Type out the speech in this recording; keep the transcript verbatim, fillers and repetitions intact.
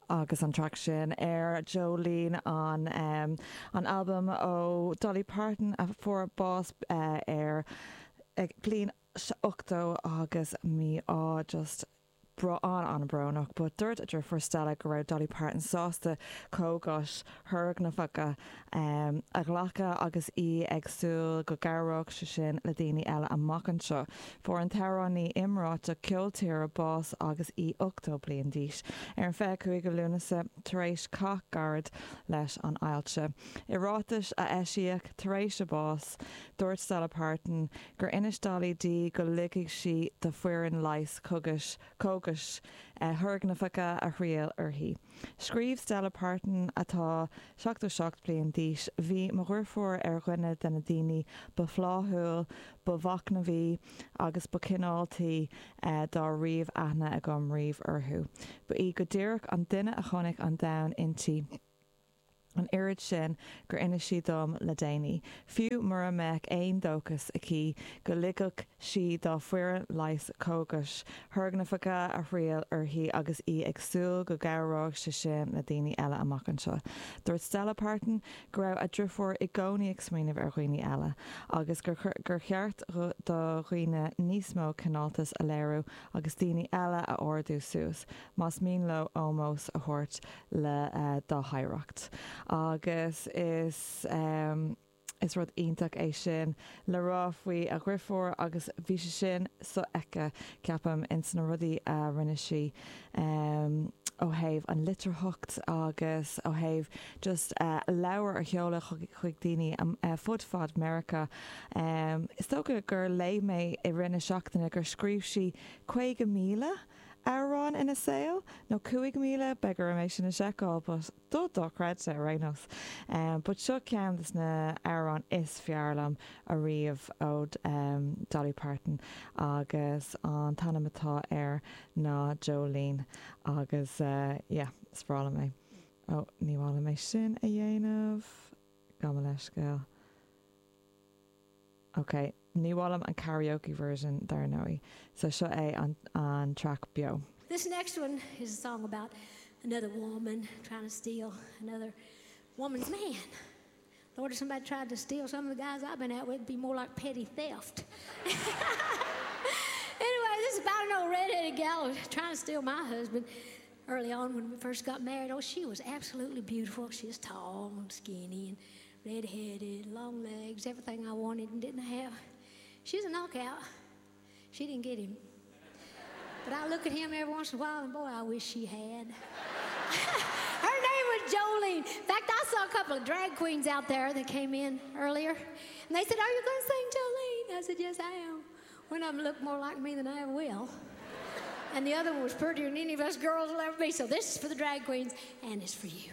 Agus an track sin ar Jolene an um, an album ó Dolly Parton a fuair bás uh, ar ag bliain ochtó agus mí á just bra an an-bhrónach, but dúirt a deirfiúr Stella go raibh Dolly Parton sásta cógais thurgnamhacha um, a ghlacadh agus í ag súil go gcabhródh sé sin le daoine eile amach anseo. Fuair an t-amhránaí iomráiteach ceol tíre bás agus í ochtó bliain d'aois. Ar an fiche cúig Lúnasa tar éis cath gairid leis an ailse. I ráiteas a eisíodh tar éis a bás, dúirt Stella Parton gur inis Dolly di go ligfeadh sí do foireann leighis cógais cógais eh, thurgnamhacha a thriail uirthi. Scríobh Stella Parton atá seachtó seacht bliain d'aois, bhí mo dheirfiúr ar dhuine de na daoine ba fhlaithiúla, ba mhachnamhaí agus ba chineálta eh, dá raibh aithne agam riamh orthu. Ba í go díreach an duine a chonaic an domhan inti. An oiread sin gur inis sí dom le déanaí. Fiú mura mbeadh aon dóchas aici go ligfeadh sí dá foireann leighis cógais thurgnamhacha a thriail uirthi agus í ag súil go gcabhródh sé sin le daoine eile amach anseo. Dúirt Stella Parton go raibh a deirfiúr i gcónaí ag smaoineamh ar dhaoine eile, agus gur gur cheart do dhaoine níos mó cineáltas a léiriú agus daoine eile a ardú suas, más mian leo ómós a thabhairt le uh, dá hoidhreacht. Agus is um, is rud iontach é sin le rá faoi a deirfiúr agus bhí sé sin sofheicthe ceapaim ins na rudaí a rinne sí um, ó thaobh an litearthacht agus ó thaobh just uh, leabhar a sheoladh chuig daoine um, uh, fud fad Meiriceá. Um, is dócha gur léigh mé i rith na seachtaine gur scríobh sí caoga míle amhrán ina saol nó cúig míle beidh orm é sin a sheiceáil, but do dochreidte ar aon nós. Um, but seo ceann des na hamhráin is fearr liom ariamh ó um, Dolly Parton agus an t-ainm atá air ná Jolene agus uh, yeah, is breá liom é. Ó ní bhla mé sin a dhéanamh gabh mo leithscéal. Ok, ní bhlam an karaoke version dar ndóigh, so seo é an, an track beo. This next one is a song about another woman trying to steal another woman's man. Lord, if somebody tried to steal some of the guys I've been out with, it'd be more like petty theft. anyway, this is about an old redheaded gal trying to steal my husband. Early on when we first got married, oh, she was absolutely beautiful. She was tall and skinny and redheaded, long legs, everything I wanted and didn't have. She was a knockout. She didn't get him. But I look at him every once in a while, and boy, I wish she had. Her name was Jolene. In fact, I saw a couple of drag queens out there that came in earlier, and they said, Are you going to sing Jolene? I said, Yes, I am. One of them looked more like me than I ever will. And the other one was prettier than any of us girls will ever be. So this is for the drag queens, and it's for you.